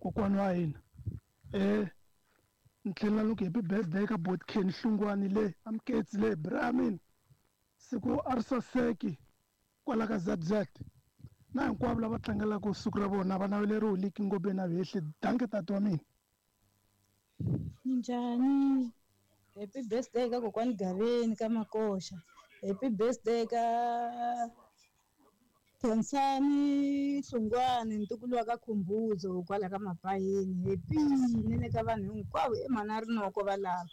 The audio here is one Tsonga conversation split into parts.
Kokwani wa hina. Ni tlhela ni ku happy birthday ka Botken Hlungwani le Amketsi le Brahmin. Siku a ri saseki kwala ka ZZ. Na hinkwavo lava tlangelaka siku ra vona va naveleriwe liki ngobeni na vehli. Dankie tati wa mina. Minjhani? Happy birthday ka kokwani Gaveni ka Makoxa. Happy birthday ka Khensani Hlungwani ntukulu wa ka Khumbudzo kwala ka Mapayeni. Happy ni le ka vanhu hinkwavo i mhana Rinoko valava.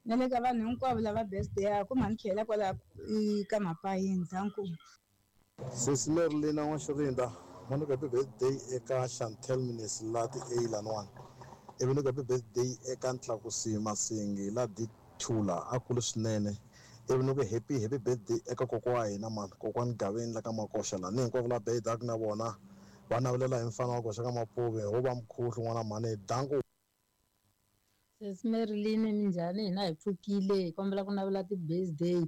Na le ka vanhu hinkwavo lava birthday-aku mhani tlhela kwala ka Mapayeni. Danko. Sesi Merlina N'waxirinda, va ni ku happy birthday eka Chantel Minesi la ti A laniwani. Ivi ni ku happy birthday eka Ntlakusi Masingi la D2 la a kule swinene. Ivi ni ku happy happy birthday eka kokwa wa hina mani, kokwani Gaveni la ka Makoxa la. Ni hinkwavo la birthday na vona va navelela hi mfana wa koxa ka Mapuve ho va mkhuhlu n'wana mhani. Danko. Sesi Marilyn minjhani hina hi pfukile hi kombela ku navela ti-birthday.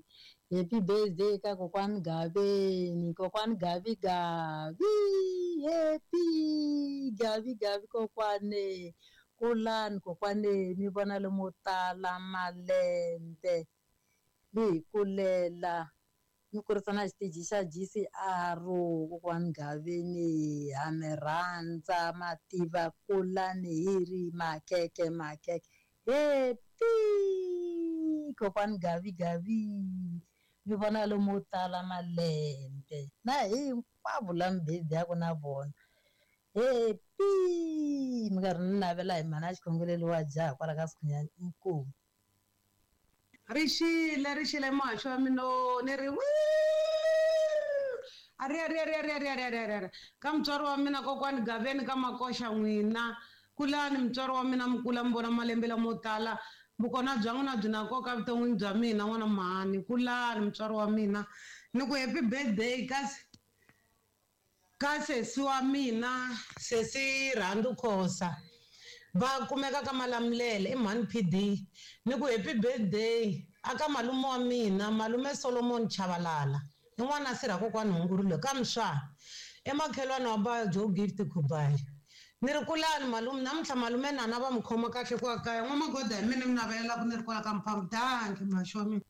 Happy birthday ka kokwani Gaveni, kokwani Gavi Gavi, happy Gavi Gavi kokwane. Kulani kokwane mi vona lomo tala malembe mi hi kulela mi kurisa na xiteji xa GCR kokwani Gaveni ha mi rhandza mativa kulani hi ri makeke makeke happy kokwani Gavi Gavi mi vona lomo tala malembe na hinkwavo la mi birthday-aku na vona happy mi karhi ni navela hi mhana xikhongelelo wa jaha kwala ka Sikhunyani inkomu. Rixile rixile muhaxi wa mina ni ri a ri a ri a ri a ri a ri a ri a ri a ri a ri ka mutswari wa mina kokwani Gaveni ka Makoxa n'wina kulani mutswari wa mina mi kula mi vona malembe lamo tala vukona bya n'wina byi na nkoka evuton'wini bya mina n'wana mhani kulani mutswari wa mina ni ku happy birthday kasi ka sesi wa mina sesi Rhandu Khosa va kumeka ka Malamulele i mhani PD ni ku happy birthday aka malume wa mina malume Solomon Chabalala i n'wana sirha kokwani Hungurile ka Mswa emakhelwani wa ba Joe Gift Khubayi ni ri kulani malume namuntlha malume nana va mi khoma kahle kwa kaya n'wamagoda hi mina mi navelelaka ni ri kwala ka mphambu danki muhaxi wa mina.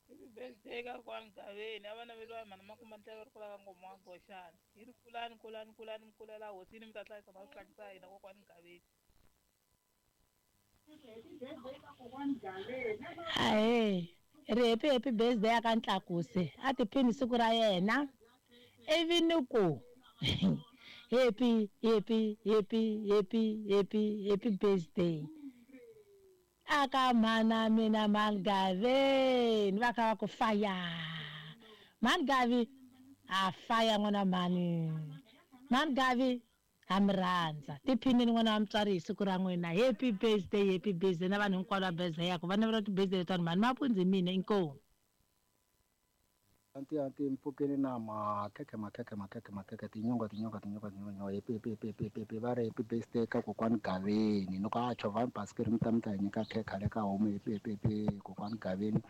Happy birthday ka kokwani Gaveni a va naveliwa hi mhani Makumba Ndlela ri kulaka ngoma wa Goxani hi ri kulani kulani kulani mi kulela hosini mi ta hlayisa na swihlaki swa hina kokwani Gaveni. Ahee ri happy happy birthday aka Ntlakuse a tiphini siku ra yena ivi ni ku happy happy happy happy happy happy birthday aka mhana mina mhani Gaveni va kha va ku fire mhani Gavi a fire n'wana mhani mhani Gavi ha mi rhandza tiphinini n'wana wa mutswari hi siku ra n'wina happy birthday happy birthday na vanhu hinkwavo va birthday yaku va navela ti-birthday letiwani mhani mapundzi mina inkomu. Anti anti mpfukeni na makhekhe makhekhe makhekhe makhekhe tinyonga tinyonga tinyonga tinyonga happy happy happy happy happy va ri happy birthday ka kokwani Gaveni ni ku a chovhani basikiri mi ta mi ta hi nyika khekhe le ka homu happy happy happy kokwani Gaveni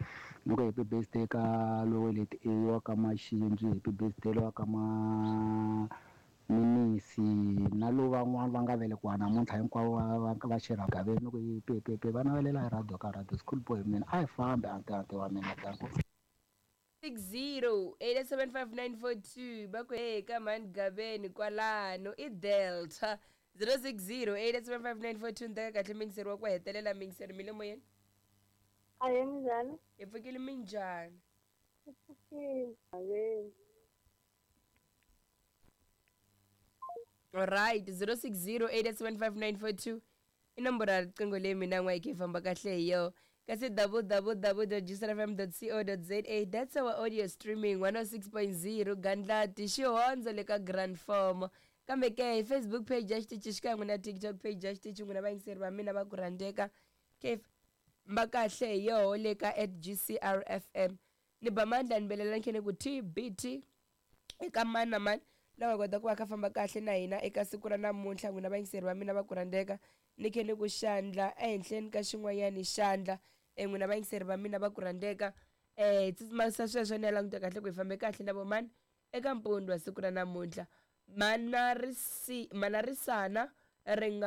ni ku happy birthday ka lowo leti a wa ka Maxindzi happy birthday lowa ka ma Minisi na lowu van'wana va nga velekiwa namuntlha hinkwavo va va xirha Gaveni ni ku happy happy happy va navelela hi radio ka radio school boy mina a hi fambi anti anti wa mina danko. 60 875 va ku hey ka mhani Gaveni kwalano i Delta 060 875 ni teka kahle mingiseri wa ku hetelela mingiseri mi le moyeni. Ahee minjhani? Hi pfukile minjhani? Hi pfukile Gaveni. Alright 060 875 i nomboro ya riqingho leyi mina n'wa yi kha yi famba kahle hi yo kasi www.gcrfm.co.za that's our audio streaming 106.0 Gandlati xihondzo le ka Grand Form kambe ke hi Facebook page ya xitichi xikan'we na TikTok page ya xitichi n'wina vayingiseri va mina va ku rhandzeka ke famba kahle hi yoho le ka @gcrfm ni ba mandla ni belela nkhene ku TBT eka mani na mani la nga kota ku va kha famba kahle na hina eka siku ra namuntlha n'wina vayingiseri va mina va ku rhandzeka ni khe ni ku xandla ehenhleni ka xin'wanyani xandla n'wina vayingiseri va mina va ku rhandzeka tsutsumisa sweswo ni ya languta kahle ku hi fambe kahle na vomani eka mpundzu wa siku ra namuntlha mana risi mana risana ri nga